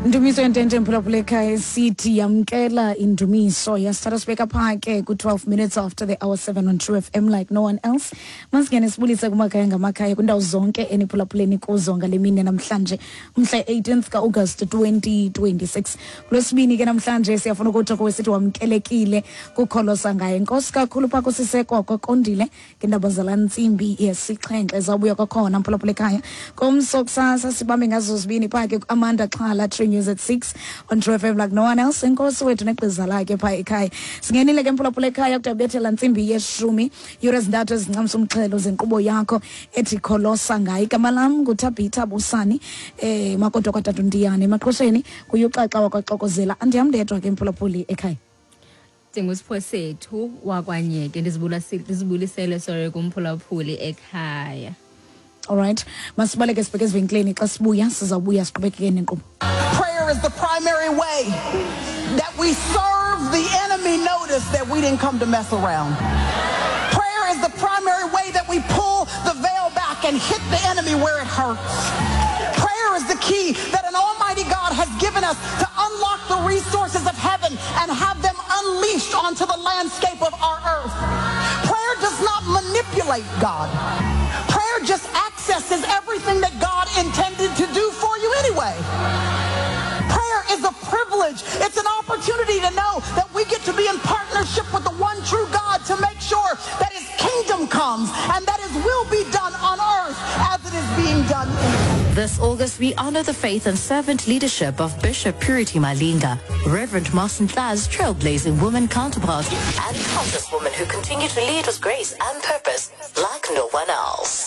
Ndumiso yentente, mphulaphula ekhaya, esithi yamkela indumiso. Yasithatha sibeka phaa ke ku-12 minutes after the hour 7 on True FM like no one else. Masingene sibulise kumakhaya ngamakhaya kwindawo zonke eniphulaphuleni kuzo ngale mini namhlanje, umhla 18th ka-August 2026, kulwesibini ke namhlanje. Siyafuna ukuthi kuwe sithi wamkelekile kukholosa ngaye. Nkosi kakhulu phaa kusiseko kwakondile ngeendaba zalaa ntsimbi yesixhenxe. Zawubuya kwakhona, mphulaphula ekhaya, komso kusasa, sibambe ngazo zibini phaa ke ku-Amanda Xhala, True News at 6 on True FM like no one else. Enkosi wethu negqiza lakhe phaa ekhaya. Singenile ke, mphulaphula ekhaya, kudabethela ntsimbi yeshumi, yure ezintathu ezincamsa umxhelo zenkqubo yakho ethi Kholosa Ngaye. Igama lam nguThabitha Busani, makodwa kwatata uNtiyane emaqhosheni kuyuxaxa wakwaxokozela. Andiham ndedwa ke, mphulaphuli ekhaya. Ndingusipho sethu wakwanyeke, ndizibulisele, sorry, kumphulaphuli ekhaya. Alright, masibaleke sibheke ezivenkileni. Xa sibuya sizawubuya siqhubekeke nenkqubo. Prayer is the primary way that we serve the enemy notice that we didn't come to mess around. Prayer is the primary way that we pull the veil back and hit the enemy where it hurts. Prayer is the key that an almighty God has given us to unlock the resources of heaven and have them unleashed onto the landscape of our earth. Prayer does not manipulate God. Prayer just accesses everything that God intended to do for you anyway. Prayer is a privilege. It's an opportunity to know that we get to be in partnership with the one true God to make sure that his kingdom comes and that his will be done on earth as it is being done in heaven. This August, we honor the faith and servant leadership of Bishop Purity Malinga, Reverend Martin Tla's trailblazing woman counterpart, and countless women who continue to lead with grace and purpose like no one else.